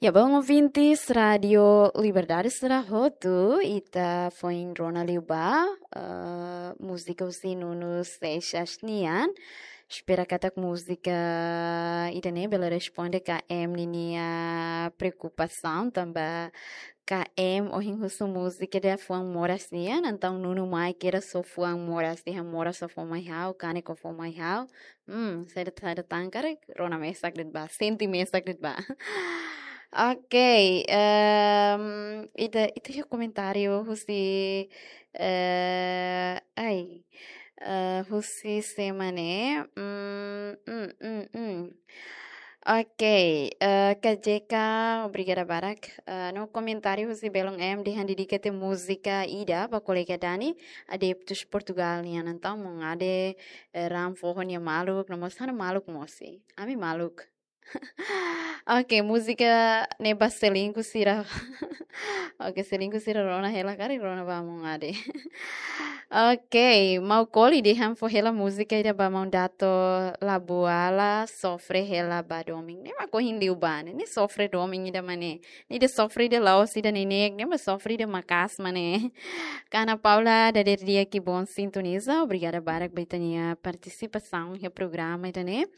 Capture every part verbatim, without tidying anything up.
Ya, bom, ouvintes Rádio Liberdade sira hotu, ita foin rona liu ba, eh, múzika husi Nuno Seixas nian. Espera katak múzika ida-ne'e bele responde K M ninia preokupasaun, tanba K M ohin husu múzika ida fuan moras nian, entaun Nuno mai kira só fuan moras, dehan moras só fó mai ha'u, kanek só fó mai ha'u. Hmm, saida, saida tan karik, rona mesak de'it ba, sente mesak de'it ba. Ok, em, ita, ita iha komentáriu husi, eh, ai, eh, husi sé mak ne'e, hmm, hmm, hmm, hmm. Ok, eh, K J K, obrigada barak. Eh, no komentáriu husi Belun M dehan dedika tiha múzika ida ba kolega Dani, adeptus Portugal nian, entaun maun Ade, eh, ran foho nia maluk, no mós ha'u-nia maluk mós. Ami maluk. Ok, múzika ne'e ba selingkuh sira. Ok, selingkuh sira rona hela karik, rona ba maun Ade. Ok, Maukoli dehan fó hela múzika ida ba maun Dato Labuala, sofre hela ba domin. Ne'e mak ohin liu ba ne'e, ne'e sofre domin ida mak ne'e. Ne'e ida sofre ida la'ós ida neineik, ne'e mak sofre ida maka'as mak ne'e. Ka Ana Paula, dadeer di'ak i bom sintoniza, obrigada barak ba ita-nia partisipasaun iha programa ida-ne'e.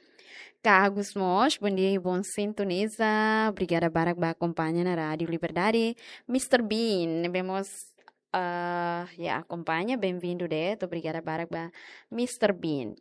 Ka Agus mós, bom dia i bom sintoniza, obrigada barak ba akompaña ona Rádio Liberdade. Mister Bean, ne'ebé mós, ah, ya, akompaña, bem-vindo de'it, obrigada barak ba Mister Bean.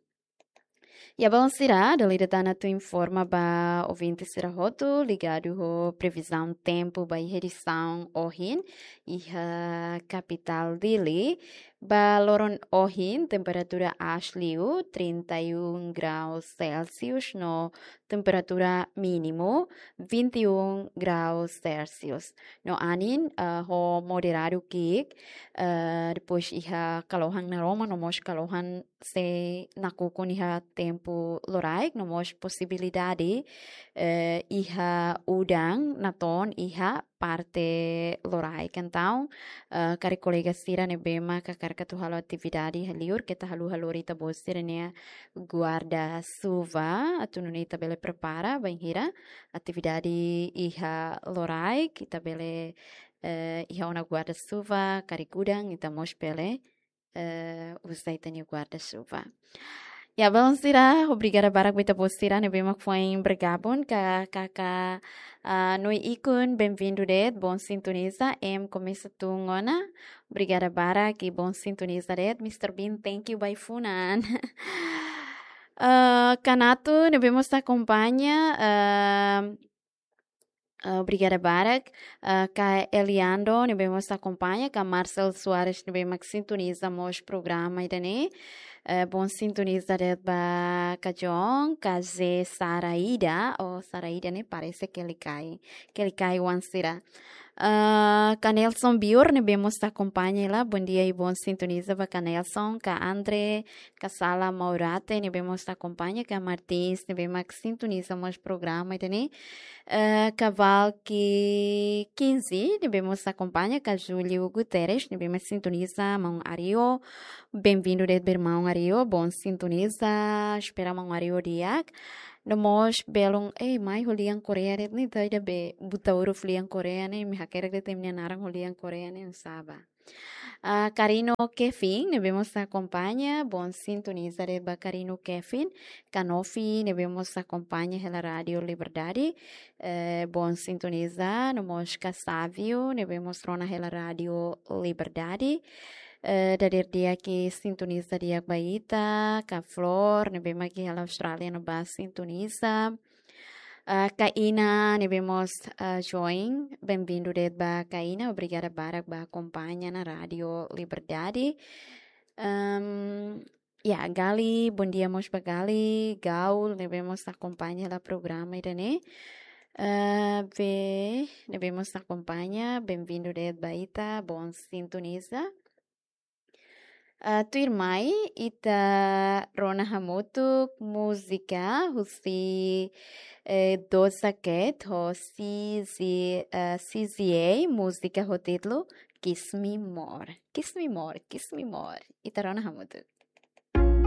Ya, bom, sira, dala ida tan atu informa ba ouvinte sira hotu, ligadu ho previzaun tempu ba iha edisaun ohin, iha kapitál Dili, ba loron ohin, temperatura aas liu, trinta e um graus Celsius, no temperatura mínimu, vinte e um graus Celsius. No anin, ah, ho moderadu ki'ik, ah, depois iha kalohan naroman, no mós kalohan sei nakukun iha tempu loraik, no mós posibilidade, eh, iha udan natoon iha parte loraik. Entaun, eh, karik kolega sira ne'ebé mak hakarak atu halo atividade iha liur, keta haluha lori ita-boot sira-nia guarda-chuva, atu nune'e ita bele prepara bainhira atividade iha loraik, ita bele, eh, iha ona guarda-chuva, karik udan, ita mós bele eh, uza ita-nia guarda-chuva. Ya, bom, sira, obrigada barak ba ita-boot sira ne'ebé mak foin bergabung, ka, ka, ka, ah, Noi Ikun, bem-vindo de'it, bom sintoniza, M komesa tun ona, obrigada barak i bom sintoniza de'it, Mister Bean, thank you ba ai-funan. Eh, Kanato, ne'ebé mós akompaña, eh, Ah, obrigada barak. Ah, ka Eliando, ne'ebé mós akompaña, ka Marcel Soares, ne'ebé mak sintoniza mós programa ida-ne'e. Eh, bom sintoniza de'it ba Kajon, ka Ze Saraida, oh, Saraida ne'e parese Kelikai, Kelikai oan sira. Ah, ka Nelson Bior, ne'ebé mós akompaña hela, bom dia i bom sintoniza ba ka Nelson, ka Andre, ka Sala Maurate, ne'ebé mós akompaña, ka Martins, ne'ebé mak sintoniza mós programa ida-ne'e. Eh, ka Valki Quinze, ne'ebé mós akompaña, ka Júlio Guterres, ne'ebé mak sintoniza, maun Ario. Bem-vindo de'it ba maun Ario, bom sintoniza, espera maun Ario di'ak. No mós belun, eh, mai ho lian Korea de'it ne'e, ita ida be buta huruf lian Korea ne'e, imi hakerek de'it imi-nia naran ho lian Korea ne'e, oinsá ba. Ah, Karino Kevin, ne'ebé mós akompaña, bom sintoniza de'it ba Karino Kevin, ka Nofi, ne'ebé mós akompaña hela Rádio Liberdade, eh, bom sintoniza, no mós ka Sávio, ne'ebé mós rona hela Rádio Liberdade, eh, dadeer di'ak sintoniza di'ak ba ita, ka Flor, ne'ebé mak iha Austrália no ba sintoniza, ah, ka Ina, ne'ebé mós, ah, join. Bem-vindo de'it ba ka Ina. Obrigada barak ba akompaña ona Rádio Liberdade. Ehm, ya, Gali, bom dia mós ba Gali. Gaul, ne'ebé mós akompaña hela programa ida-ne'e. Eh, Be, ne'ebé mós akompaña. Bem-vindo de'it ba ita. Bom sintoniza. Ah, tuirmai, ita rona hamutuk múzika husi, eh, Doja Cat ho C Z, eh, C Z A, múzika ho títulu Kiss Me More. Kiss Me More, Kiss Me More. Ita rona hamutuk.